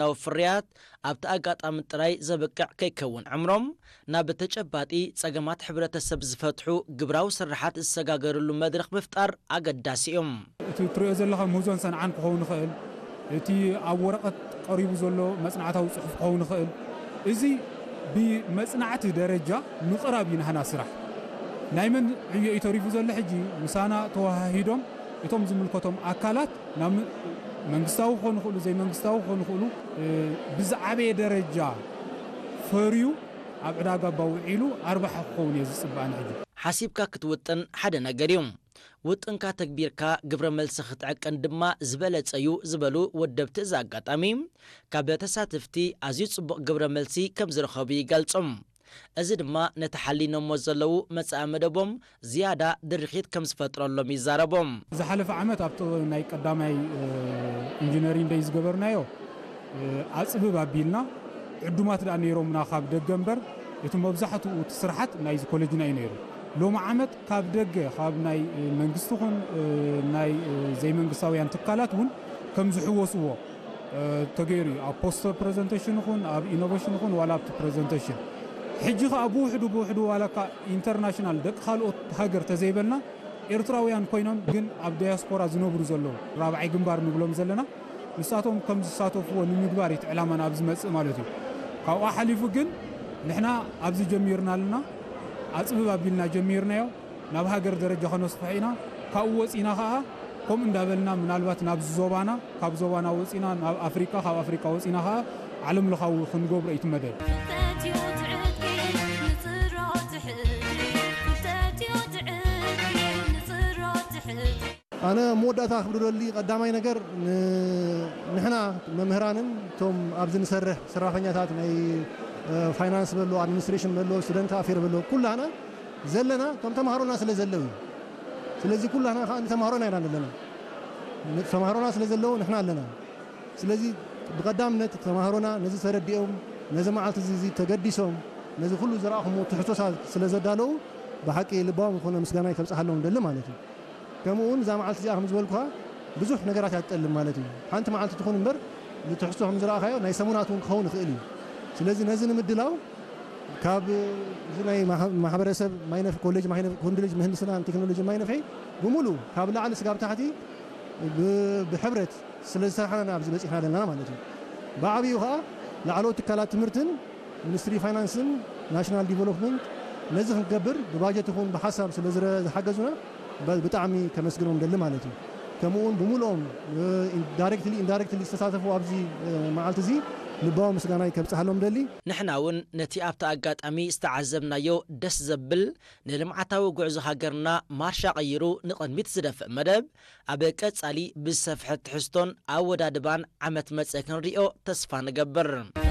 ሃገራዊ ፍርያት ኣብቲ ኣጋጣሚ ጥራይ ዘብቅዕ ከይከውን ዕምሮም ናብ ተጨባጢ ጸገማት ሕብረተሰብ ዝፈትሑ ግብራዊ ስርሓት ዝሰጋገርሉ መድረኽ ምፍጣር ኣገዳሲ እዩ። እቲ ትሪኦ ዘለኻ ምህዞን ሰንዓን ክኸውን ይኽእል፣ እቲ ኣብ ወረቐት ቀሪቡ ዘሎ መጽናዕታዊ ጽሑፍ ክኸውን ይኽእል። እዚ ብመጽናዕቲ ደረጃ ምቕራብ እዩ ናህና ስራሕ። ናይ መን ዕዮ እዩ ተሪፉ ዘሎ? ሕጂ ምሳና ተወሃሂዶም እቶም ዝምልከቶም ኣካላት ናብ ም-፣ መንግስታዊ ክኾኑ ይኽእሉ፣ ዘይመንግስታዊ ክኾኑ ይኽእሉ፣ እ፣ ብዝዓበየ ደረጃ ፈርዩ ኣብ ዕዳጋ ባውዒሉ ኣርባሓ ክኸውን እየ ዝጽበኣን። ሕጂ ሓሲብካ ክትውጥን ሓደ ነገር እዩ። ውጥንካ ተግቢርካ ግብረ መልሲ ክትዕቅን ድማ ዝበለጸ እዩ ዝበሉ ወደብቲ እዚ ኣጋጣሚ፣ ካብ ተሳተፍቲ ኣዝዩ ጽቡቕ ግብረ መልሲ ከም ዝረኸቡ ይገልጹ። እዚ ድማ ነቲ ሓሊኖሞ ዘለዉ መጻኢ መደቦም ዝያዳ ድርኺት ከም ዝፈጥረሎም ይዛረቡ። ዝሓለፈ ዓመት ኣብቲ ናይ ቀዳማይ፣ እ፣ ኢንጂነሪንግ ደይ ዝገበርናዮ፣ እ፣ ኣጽብብ ኣቢልና ዕዱማት ደኣ ነይሮምና ካብ ደገ እምበር፣ እቲ መብዛሕትኡ እቲ ስርሓት ናይዚ ኮሌጅና እዩ ነይሩ። ሎሚ ዓመት ካብ ደገ፣ ካብ ናይ፣ እ፣ መንግስቲ ኹን፣ እ፣ ናይ፣ እ፣ ዘይመንግስታውያን ትካላት እውን ከም ዝሕወስዎ፣ እ፣ ተገይሩ እዩ። ኣብ ፖስተር ፕሬዘንቴሽን ይኹን፣ ኣብ ኢኖቬሽን ይኹን፣ ዋላ ኣብቲ ፕሬዘንቴሽን። ሕጂ ኸኣ ብውሕዱ ብውሕዱ ዋላ እኳ ኢንተርናሽናል ደቂ ካልኦት ሃገር ተዘይበልና፣ ኤርትራውያን ኮይኖም ግን ኣብ ዳያስፖራ ዝነብሩ ዘለዉ ራብዓይ ግንባር ንብሎም ዘለና፣ ንሳቶም ከም ዝሳተፍዎ ንምግባር እዩ እቲ ዕላማና ኣብዚ መጽእ ማለት እዩ። ካብኡ ሓሊፉ ግን ንሕና ኣብዚ ጀሚርና ኣለና፣ ኣጽብብ ኣቢልና ጀሚርናዮ፣ ናብ ሃገር ደረጃ ከነስፍሖ ኢና። ካብኡ ወጺና ኸኣ ከምኡ እንዳበልና ምናልባት ናብ ዞባና፣ ካብ ዞባና ወጺና ናብ ኣፍሪቃ፣ ካብ ኣፍሪቃ ወጺና ኸኣ ዓለም ለኻዊ ክንገብሮ እዩ እቲ መደብ። ፍልጠት እዩ እቲ ዕጥቂ፣ ንጽሮ ትሕቲ። ፍልጠት እዩ እቲ ዕጥቂ፣ ንጽሮ ትሕቲ። ኣነ መወዳእታ ክብሎ ደሊ ቀዳማይ ነገር ን-፣ ንሕና መምህራንን እቶም ኣብዚ ንሰርሕ ሰራሕተኛታት ናይ፣ እ፣ ፋይናንስ በሎ፣ ኣድሚኒስትሬሽን በሎ፣ ስቱደንት ኣፌር በሎ፣ ኩላህና ዘለና እቶም ተምሃሮና ስለ ዘለዉ እዩ። ስለዚ ኩላህና ከዓ ንተምሃሮና ኢና ዘለና። ን-፣ ተምሃሮና ስለ ዘለዉ ንሕና ኣለና። ስለዚ ብቐዳምነት ተምሃሮና ነዚ ተረዲኦም፣ ነዚ መዓልቲ እዚ፣ እዚ ተገዲሶም፣ ነዚ ኩሉ ዝረኣኹምዎ ትሕዝቶታት ስለ ዘዳለዉ ብሓቂ ልባዊ ዝኾነ ምስጋናይ ከብጽሓሎም ደሊ ማለት እዩ። ከምኡ እውን እዛ መዓልቲ እዚኣ ከም ዝበልኩኻ ብዙሕ ነገራት እያ ትጠልብ ማለት እዩ። ሓንቲ መዓልቲ ትኹን እምበር ንትሕዝቶ ከም ዝረኣኻዮ ናይ ሰሙናት እውን ክኸውን ይኽእል እዩ። ስለዚ ነዚ ንምድላው ካብ እዚ ናይ ማሕ-፣ ማሕበረሰብ ማይነፍ-፣ ኮሌጅ ማይነፍ-፣ ኮሌጅ ምህንድስናን ቴክኖሎጂ ማይነፍሒ ብምሉእ ካብ ላዕሊ ስጋብ ታሕቲ ብ-፣ ብሕብረት ስለ ዝሰርሓና ኣብዚ በፂሕና ዘለና ማለት እዩ። ብዓብዩ ከዓ ላዕለዎት ትካላት ትምህርትን ሚኒስትሪ ፋይናንስን ናሽናል ዲቨሎፕመንት ነዚ ክንገብር ብባጀት ይኹን ብሓሳብ ስለ ዝረ-፣ ዝሓገዙና ብ-፣ ብጣዕሚ ከመስግኖም ደሊ ማለት እዩ። ከምኡ እውን ብምሉኦም፣ እ፣ ዳይሬክትሊ ኢንዳይሬክትሊ ዝተሳተፉ ኣብዚ፣ እ፣ መዓልቲ እዚ ልባዊ ምስጋናይ ከብጽሓሎም ደሊ። ንሕና እውን ነቲ ኣብቲ ኣጋጣሚ ዝተዓዘብናዮ ደስ ዘብል ንልምዓታዊ ጉዕዞ ሃገርና ማርሻ ቀይሩ ንቕድሚት ዝደፍእ መደብ ኣብ ቀጻሊ ብዝሰፍሐ ትሕዝቶን ኣወዳድባን ዓመት መጸ ክንሪኦ ተስፋ ንገብር።